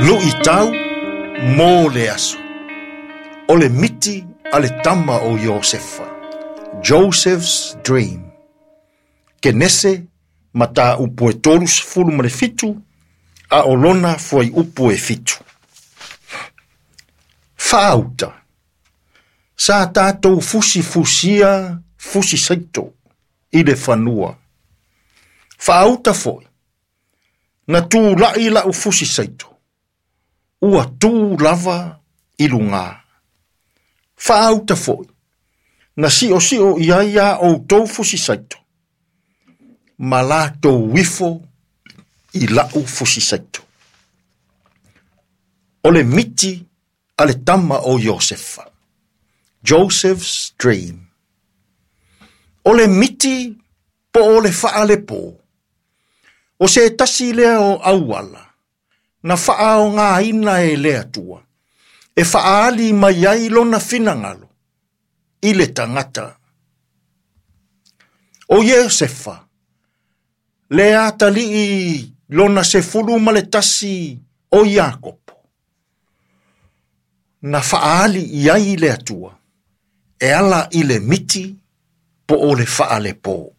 Luʻitau mo le aso. O le miti a le tama o Iosefa. Joseph's Dream. Kenese mataupu e 37 a o lona fuaiupu e 7. Faauta. Sa tātou fusifusia fusi saito i le fanua. Faauta foi. Na tū lai lau fusi saito. Ua tū lava i lugā. Faauta foi. Na siosio i ai a outou fusi saito. Ma latou ifo i lau fusi saito. O le miti a le tama o Iosefa. Joseph's Dream. O le miti po o le faalepō. O se tasi lea o auala, na faaaogāina e le Atua, e faaali mai ai lona finagalo i le tagata. O Iosefa, le atalii lona 11 o Iakopo, na faaali i ai le Atua, e ala i le miti po o le faalepō.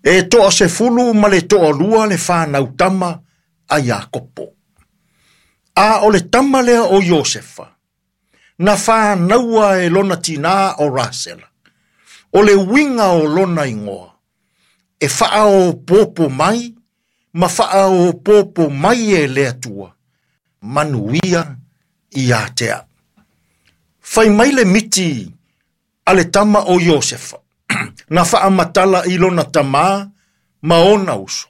E 12 le whānau tama a Iakopo. A o le tama lea o Iosefa, na whānaua e lona tinā o Rasela, o le uiga o lona ingoa, e whaaopopo mai, ma whaaopopo mai e le Atua, manuia ia te au. Fai mai le miti a le tama o Iosefa, na faamatala i lona tamā ma ona uso.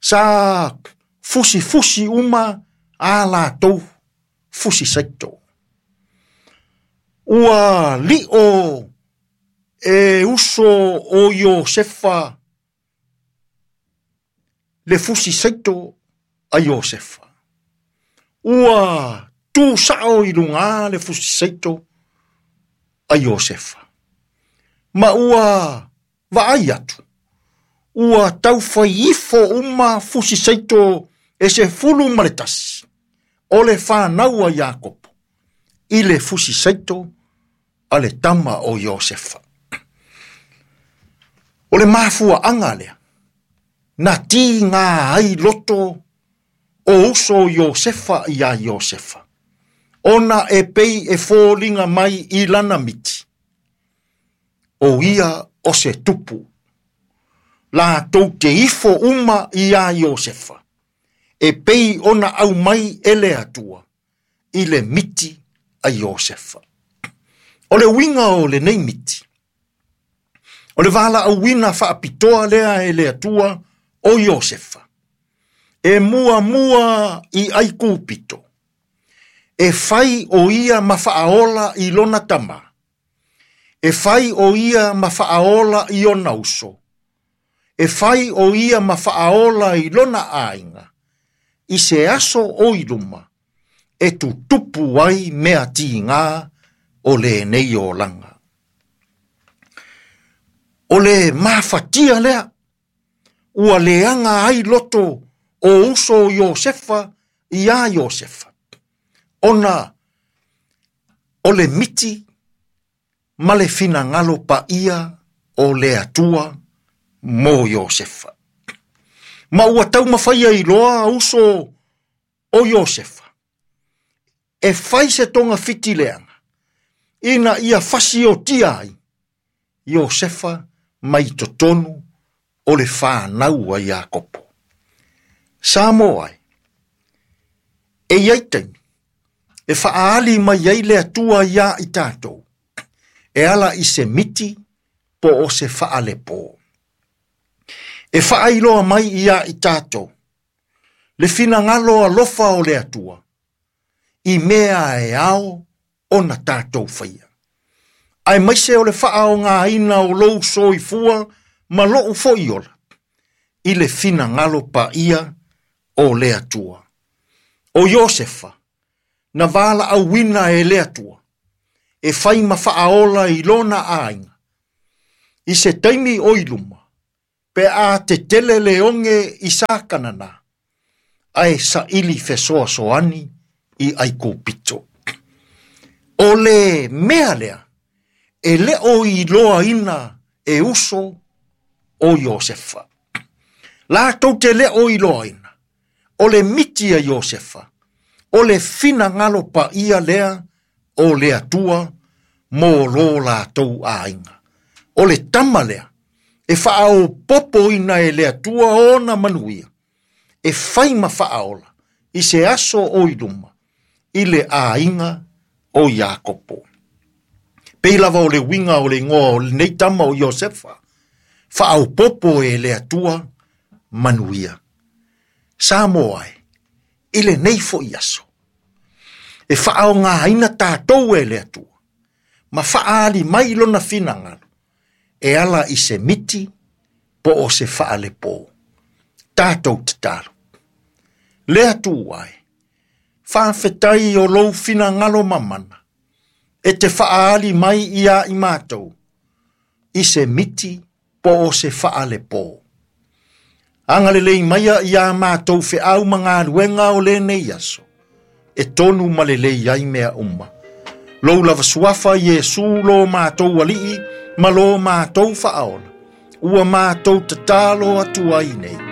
Sa fusifusi uma a latou fusi saito. Ua lio e uso o Iosefa le fusi saito a Iosefa. Ua tū sao i lugā le fusi saito a Iosefa. Ma ua vaai atu. Ua taufai ifo uma fusi saito e 11. O le whānau a Iakopo. I le fusi saito a le tama o Iosefa. O le mafua anga lea. Na ti ngā ai loto o uso Iosefa ia Iosefa. Ona e pei e fōlinga mai i lana miti. O ia o se tupu. Latou te ifo uma ia Iosefa. E pei ona au mai e le Atua i le miti a Iosefa. O le uiga o lenei miti. O le valaauina faapitoa lea e le Atua o Iosefa. E muamua i Aikupito. E fai o ia ma faaola i lona tama. E fai o ia ma faaola i ona uso. E fai o ia ma faaola i lona aiga. I se aso o i luma. E tutupu ai mea tigā o lenei olaga. O le mafatia lea. Ua leaga ai loto o uso Iosefa ia Iosefa. Ona o le miti ma le finagalo paia o le Atua mo Iosefa. Ma ua taumafaia iloa uso o Iosefa. E fai se togafiti leaga, ina ia fasiotia ai Iosefa mai totonu o le whānau a Iakopo. Samoa ai, e iai taimi, e faaali mai ai le Atua ia i tātou, e ala i se miti po o se faalepō. E faailoa mai ia i tātou, le finagalo alofa o le Atua, i mea e ao ona tātou faia. Aemaise o le faaaogāina o lou soifua ma lou foi ola, i le finagalo paia o le Atua. O Iosefa, na valaauina e le Atua, e fai ma faaola i lona aiga. I se taimi o i luma, pe a tetele le oge i Sakanana, Ae saili fesoasoani i Aikupito. O le mea lea, e le o iloaina e uso o Iosefa. Latou te le o iloaina, o le miti a Iosefa, o le finagalo paia lea o le Atua mo lo latou aiga. O le tama lea, e faaopopoina e le Atua ona manuia, e fai ma faaola i se aso o i luma, i le aiga o Iakopo. Pei lava o le uiga o le igoa o lenei tama o Iosefa, faaopopo e le Atua manuia. Samoa e, i lenei foi aso, e faaaogaina tatou e le Atua, ma faaali mai lona finagalo, e ala i se miti po o se faalepo. Tatou tatalo. Le Atua e, faafetai o lou finagalo mamana, e te faaali mai ia i matou, i se miti po o se faalepo. Agalelei maia ia matou feau ma galuega o lenei aso, e tonu ma lelei ai mea uma. Lou lava suafa Iesu lo matou alii ma lo matou faaola, ua matou tatalo atu ai nei.